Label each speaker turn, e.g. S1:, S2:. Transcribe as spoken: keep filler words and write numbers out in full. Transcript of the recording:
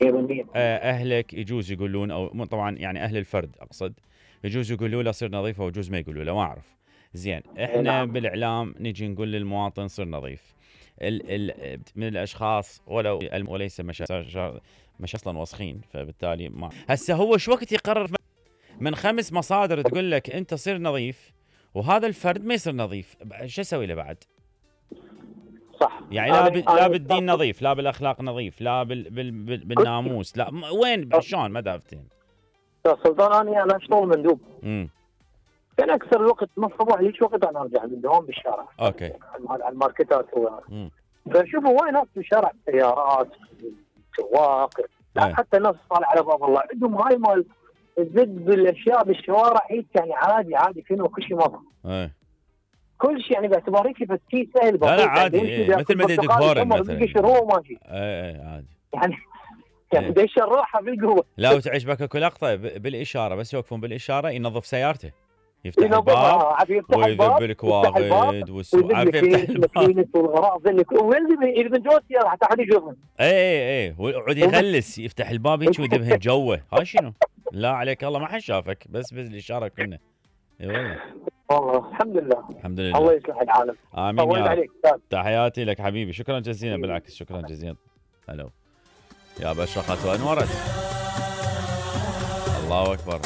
S1: نظيف. اهلك يجوز يقولون، او طبعا يعني اهل الفرد اقصد، يجوز يقولوا له صير نظيف او يجوز ما يقولوا له، ما اعرف. زين احنا بالاعلام نجي نقول للمواطن صير نظيف. ال ال من الاشخاص ولو وليس مش مش اصلا وسخين، فبالتالي ما هسه هو شو وقت يقرر من خمس مصادر تقول لك انت صير نظيف وهذا الفرد ما يصير نظيف، شو اسوي له بعد؟
S2: صح.
S1: يعني لا لا بالدين نظيف، لا بالاخلاق نظيف، لا بال بال بال بالناموس، لا وين شلون ما دافتين؟
S2: سلطان انا انا اشتغل مندوب.
S1: امم
S2: كان اكثر الوقت من الصبح ليش وقت انا ارجع من الدوام بالشارع.
S1: اوكي.
S2: على الماركتات و فشوفوا وين ناس بالشارع، سيارات، سواق، حتى الناس طالع على باب الله عندهم هاي مال الزد بالاشياء بالشوارع، هيك يعني عادي عادي كأنه كل شيء مضى.
S1: ايه
S2: كل شيء يعني باعتبار هيك بس شيء سهل بسيط.
S1: لا لا عادي، إيه. مثل ما يدق هورن مثلا.
S2: يشروه ماشي.
S1: اي اي عادي.
S2: يعني يعني بده يشرحها بالقوه.
S1: لا وتعيش بك لقطه بالاشاره، بس يوقفون بالاشاره ينظف سيارته، يفتح الباب ويذب الكواغد والسوق، عارف يفتح الباب
S2: والغراض اللي ويلزم يلزم جوه السياره حتى حد يشوفه.
S1: اي اي اي ويقعد يغلس، يفتح الباب هيك ويدبهن جوه. هاي شنو؟ لا عليك الله ما حد شافك، بس بالاشاره كنا. اي والله.
S2: والله الحمد لله.
S1: الحمد لله.
S2: الله يصلح العالم.
S1: امين يا رب. تحياتي لك حبيبي، شكرا جزيلا. بالعكس شكرا جزيلا. الو يا بشرقت وانورت. الله اكبر.